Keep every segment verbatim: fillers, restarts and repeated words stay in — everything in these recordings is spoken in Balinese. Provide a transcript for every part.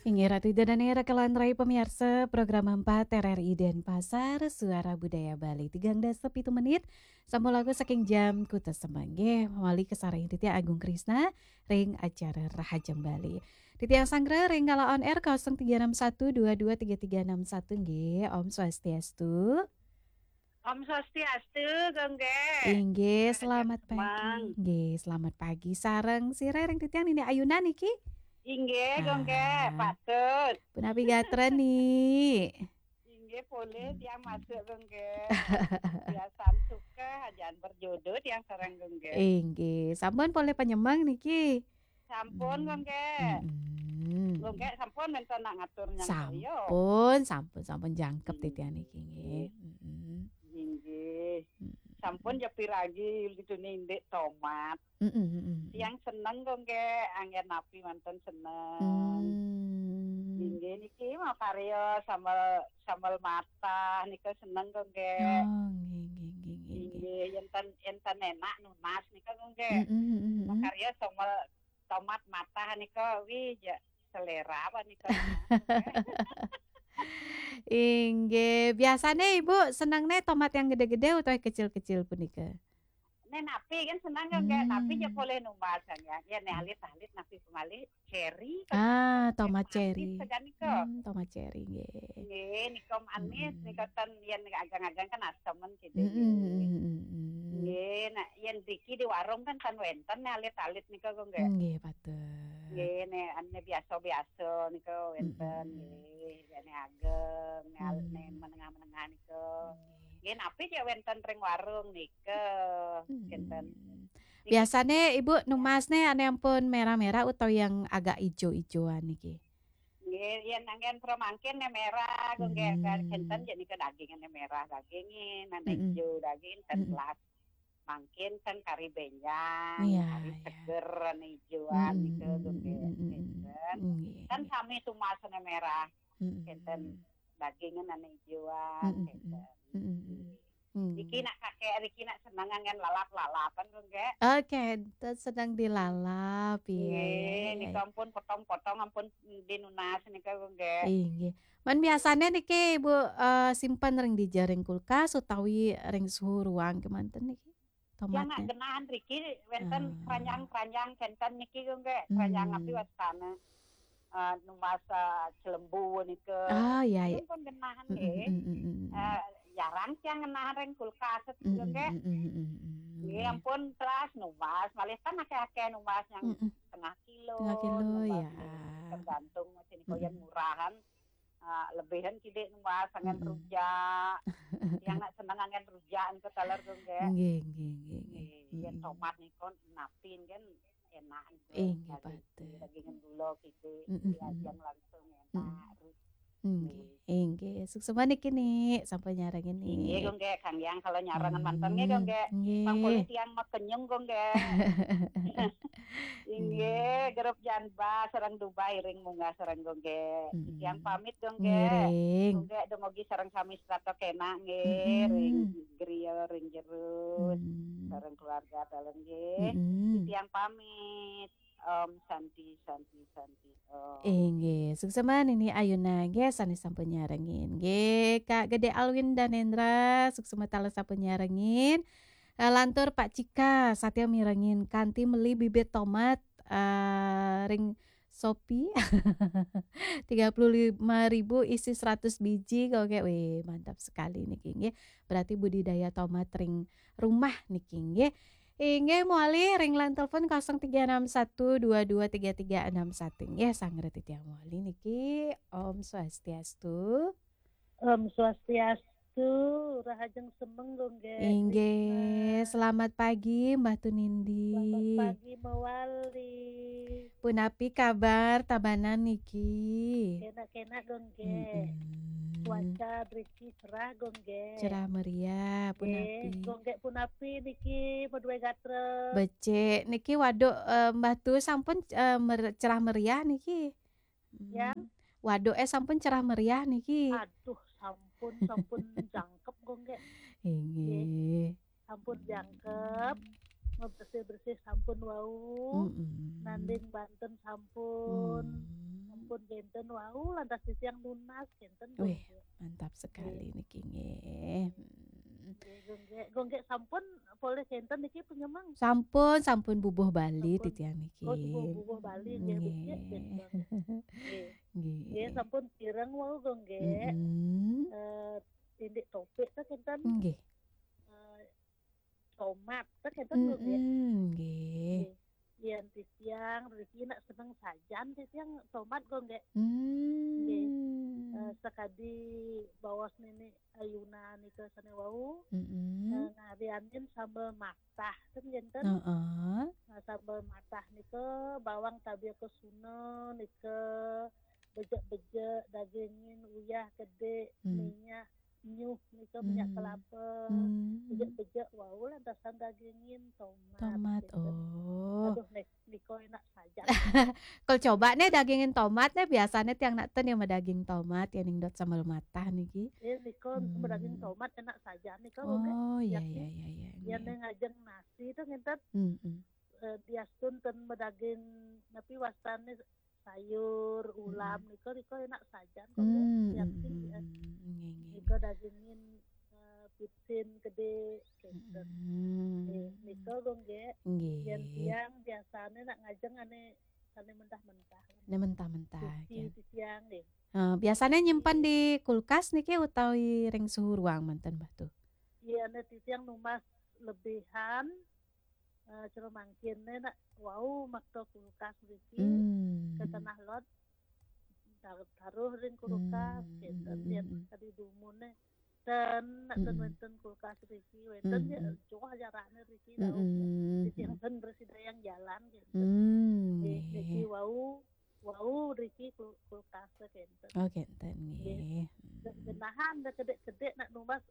Inggih Ratu Ida Dané, rakalan rai pamiarsa program empat R R I Denpasar, Suara Budaya Bali. Tigang dasa pitu menit, sampun langkung saking jam kutus semeng. Nggih, mawali kasarengin titiang Agung Krisna ring acara Rahajeng Bali. Titiang sanggra ring kala on air kosong tiga enam satu dua dua tiga tiga enam satu nggih. Om Swastiastu. Om Swastiastu, Gung Gé. Inggih, selamat pagi. Nggih, selamat pagi sareng sira ring titiang Nini Ayuna niki. Inggih, Gung Gé, patut. Punapi gatra, Ni? Inggih, polih tiang masuk, Gung Gé. Biasan suka, ajan berjodoh tiang sareng, Gung Gé. Inggih, sampun polih panyemeng niki. Sampun, Gung Gé. Mm-mm. Gung Gé sampun wénten nak ngatur nyang kaya. Sampun, sampun, sampun jangkep titiang niki nggih. Mm-mm. Inggih. Mm-mm. Sampun ya piragi gitu nih, Ndik, tomat. Mm-mm, mm-mm. Tiang seneng, Gung Gé, anggén napi manten seneng. Mm. Inggih niki makarya sambel, sambel matah nika seneng, Gung Gé. Oh, nggih, nggih, nggih, nggih, nggih. Inggih, yén ten, yén ten enak nunas nika, Gung Gé. Mm-mm, mm-mm, mm-mm. Makarya sambel tomat matah nika, wih, ya, selera apa nika. Inggih, biasane Ibu senengne tomat yang gede-gede utawi kecil-kecil punika? Nek napi kan seneng kan, Kak? Napi ya Hmm. boleh numbas kan ya. Ya, nek alit-alit napi malih cherry kan. Ah, tomat cherry. Manis kan nika. Hmm, tomat cherry nggih. Nggih, nika manis, hmm, nika ten yen agang-agang kan asemen gitu. Hmm, hmm, hmm, hmm, hmm. Nggih, nak yen driki di warung kan ten wenten nek alit-alit nika kok nggih. Nggih, patut. Nggih, nek ane biasa-biasa nika wenten, hmm, nggih. Nek ageng, nek al-, hmm, nek menengah-menengah nika. Nggih. Nggih, napi cek wenten ring warung nika, hmm, kinten. Niki biasane Ibu numbasne ane ampun merah-merah utawi yang agak ijo-ijoan niki? Nggih, yen anggen pro mangkin ne merah, kok nggih, hmm, kinten yen nika dagingane merah, dagingin, ane, hmm, ijo daging, ten, hmm, telas. Mangkin ten kari benjang, iya, kari, iya, seger, ane ijoan, hmm, nika, hmm, kok nggih, hmm, hmm, hmm, kinten. Nggih, kan nggih, sami tumbasane merah, hmm, kinten, dagingin ane ijoan, hmm, hmm, kinten. Hmm, hmm, hmm. Hmm. Niki nak kakek, niki nak seneng anggen lalap-lalapan, kok nggih. Oke, tu sedang dilalap, iya, nggih, iya, iya, nika iya. Ampun potong-potong, ampun dinunas nika, kok nggih. Inggih. Man biasane niki Ibu, eh, simpen ring dija, ring kulkas utawi ring suhu ruang kemanten niki? Yang nak tomatnya genahan riki wenten, ah, keranjang-keranjang kenten niki, kok nggih. Keranjang, hmm, napi wastane? Eh, numbas, eh, celembu nika. Ah, iya, iya. Pun genahan, mm, nggih, mm, mm, mm, mm. Eh, jarang tiang ngenahan ring kulkas, mm, mm, nggih. Mm, mm, mm, mm, mm, nggih, nggih. Ampun telas numbas, malih kan akeh-akeh numbas yang, mm, mm, setengah kilo, setengah kilo, numbas ya. Nggih. Tergantung sini, mm, kok yang murahan, eh, lebihan kidik numbas anggen, mm, mm, rujak. Yang nak seneng anggen rujak niku taler, kok nggih. Nggih, nggih, nggih, nggih. Nggih, yen, mm, tomat niku napin kan enak nggih. Inggih, daging, patut. Daging gula gitu, mm, mm, diajang, mm, langsung enak. Mm. Terus, inggih, nggih. Inggih. Suksma niki, Ni, sampun nyarengin, Ni. Inggih, kok nggih, Kang Yang kalau nyarengan, hmm, manten nggih, kok nggih. Nggih. Mangkuli tiang makenyung, kok nggih. Inggih, hmm, grup Janba sareng Dubai ring munggah sareng, kok nggih. Hmm. Tiang pamit, kok nggih. Ngiring. Kok nggih, dumugi sareng sami setata kenak nggih, hmm, ring griya, ring jero. Hmm. Sareng keluarga dalem nggih. Hmm. Tiang pamit. Om Santi, Santi, Santi, Om. Inggih, suksma Nini Ayuna nggih sane sampun nyarengin. Nggih, Kak Gede Alwin Danendra, suksma taler sampun nyarengin. Eh, lantur Pak Cika, satia mirengin kanti meli bibit tomat, eh, ring Shopee. Tiga puluh lima ribu isi seratus biji, kok nggih. Wih, mantap sekali niki nggih. Berarti budidaya tomat ring rumah niki nggih. Inggih, mawali ring line telepon kosong tiga enam satu dua dua tiga tiga enam satu. Nggih, sanggra titiang mawali niki. Om Swastiastu. Om Swastiastu, rahajeng semeng, kok nggih. Inggih, Krisna. Selamat pagi, Mbah Tunindi. Selamat pagi, mawali. Punapi kabar Tabanan niki? Kenak-kenak, kok nggih. Mm-mm. Cuaca driki cerah, kok nggih. Cerah meriah, nggih, punapi? Kok nggih, punapi niki, madué gatra? Becik. Niki waduk, eh, Mbah Tu sampun, eh, mer-, cerah meriah niki? Hmm. Ya. Waduk, eh, sampun cerah meriah niki? Aduh, sampun, sampun jangkep, kok nggih. Inggih. Nggih. Sampun jangkep, mabersih-bersih sampun wau, mm-mm, nanding banten sampun, mm, sampun kenten wau, lantas titiang nunas kenten, Gung Wih, Gék. Mantap Nggih. Sekali niki nggih. Hmm. Nggih, Gung Gék. Gung Gék sampun polih kenten niki penyemang. Sampun, sampun bubuh Bali Sampun. titiang niki. Oh, bubuh Bali nggih, becik, becik. Nggih. Nggih. Nggih, Nggih. Sampun kireng wau, Gung Gék. Mm-mm. Eh, indik topik teh kenten Nggih. eh, tomat teh kenten, Gung Gék. Mm-mm, nggih. Nggih. Yén titiang riki nak seneng sajan titiang tomat, Gung Gék. Hmm. Eh, sakadi baos Nini Ayuna nika sané wau, eh, Mm-mm. ngarianin sambel matah ten kenten. Heeh. Nah, sambel matah nika bawang tabi kesuna nika bejek-bejek, dagingin, uyah, kedék, Hmm. minyak, nyuh nika, minyak Hmm. kelapa, Hmm. bejek-bejek wau lantasan dagingin tomat. Tomat. Kenten. Oh. Aduh, nek nika enak sajan. Kalau coba nih dagingin tomat nih, biasanya tiang nak ten yang daging tomat yang ningdot sambal matah niki. Ya, nika Hmm. daging tomat enak sajan nika, Gung Gék. Oh, iya, Yakin. Iya, iya, iya. Yén Nggih. Nini ngajeng nasi tuh ngenten, Mm-mm. eh, diastun ten medaging napi wastané sayur, ulam, Mm-mm. nika, nika enak sajan kok, Gung Gék. Hmm, Yakin, mm-mm, eh, mm-mm. Nggih, nggih, nika nggih. Dagingin, eh, pitsin kedék kenten. Mm-mm. Eh, nika, Gung Gék. Yén Nggih. tiang biasané nak ngajeng ané sané mentah-mentah. Ini mentah-mentah Suci ya. Titiang nggih. Eh, biasanya nyimpan di kulkas niki utawi ring suhu ruang manten, Mbah Tu? Iya, nek titiang numbas lebihan, eh, cara mangkin nek wau makta kulkas mriki Hmm. ketenah lot, tar-, taruh ring kulkas, Hmm, kenten, hmm, yén hmm. Tadi dumune ten, nak ten Mm-mm. Wénten kulkas riki, wénten ya, Mm-mm. jauh jaraknya riki, jauh. Mm-mm. Titiang ten bersidayan jalan gitu. Hmm, Nggih, niki nggih. wau, wau riki kul-, kulkas kenten. Oh, kenten Nggih. nggih. Genahan dah kedék-kedék nak numbas,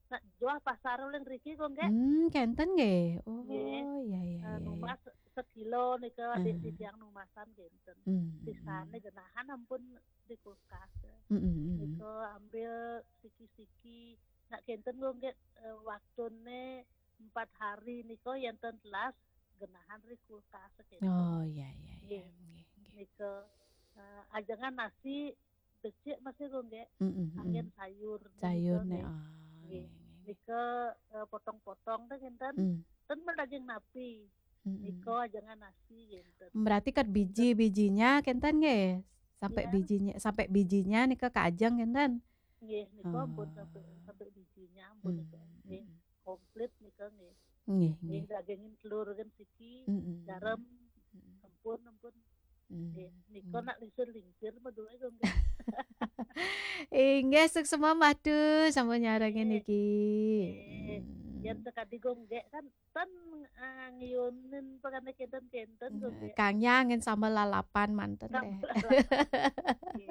nak jual pasar uling riki kok nggih. Hmm, kenten nggih. Oh, Nggih. iya, iya, Eh, iya, iya. Numbas sekilo nika adik Ah. titiang numbasan kenten. Hmm, hmm, Sisane hmm. Genahan ampun di kulkas. Hmm, hmm, hmm, hmm. Nika ambil siki-siki. Nak kenten kok nggih, eh, waktune empat hari nika yenten telas Genahan ri kulkas kenten. Oh, iya, iya, iya. Nggih. Nggih, nggih. Nika, eh, ajengan nasi becik masih kok nggih. Mm, mm, Angin mm. sayur. Sayur Nika nih. nggih. Oh, Nggih. nggih, nggih, nggih. Nika, eh, potong-potong teh kenten. Hmm. Ten daging napi. Mm, mm. Nika ajengan nasi kenten. Berarti kan biji-bijinya kenten nggih. Sampai Iya. bijinya, sampai bijinya nika kaajeng kenten. Nggih, nika ampun Oh. sampai, sampai bijinya ampun Hmm, nika. Nggih, hmm. Komplit nika nggih. Nggih, Nggih, nggih. Dagingin telur kan siki, Mm, mm, garam, mm. ampun, ampun. Hmm, Nggih, nika hmm. nak lingsir-lingsir meduwe kok nggih. Inggih, suksema Mbah Tu sampun nyarengin Nggih. niki. Nggih. Hmm. Yen sekadi kok nggih kan ten, eh, ngiunin pekane kenten-kenten kok Eh, nggih. Kang Nyangin sambel lalapan manten deh. Sambel lalapan. Nggih.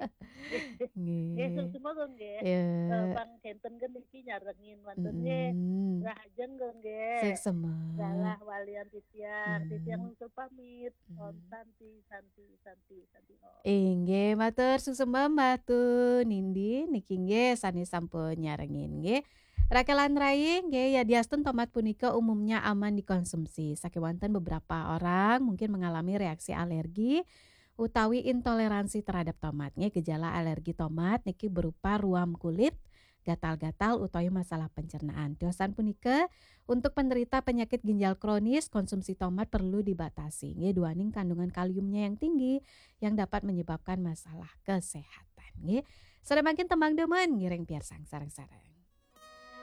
Nggih, Nggih. suksema kok nggih. Ya. Eh, Bang kenten kan niki nyarengin manten nggih. Mm-mm. Rahajeng kok nggih. Suksema. Galah walian titiang, titiang Hmm. wangsul pamit. Om Hmm. Santi, Santi, Santi, Santi Om. Inggih, matur suksema Mbah Tu Nindi niki nggih sane sampun nyarengin nggih. Rakelan rai nggih, yadiastun tomat punika umumnya aman dikonsumsi. Sakewanten beberapa orang mungkin mengalami reaksi alergi utawi intoleransi terhadap tomat nggih. Gejala alergi tomat niki berupa ruam kulit, gatal-gatal utawi masalah pencernaan. Tiosan punika, untuk penderita penyakit ginjal kronis, konsumsi tomat perlu dibatasi nggih, duaning kandungan kaliumnya yang tinggi yang dapat menyebabkan masalah kesehatan nggih. Sore mangkin tembang demen ngiring piarsang sareng-sareng.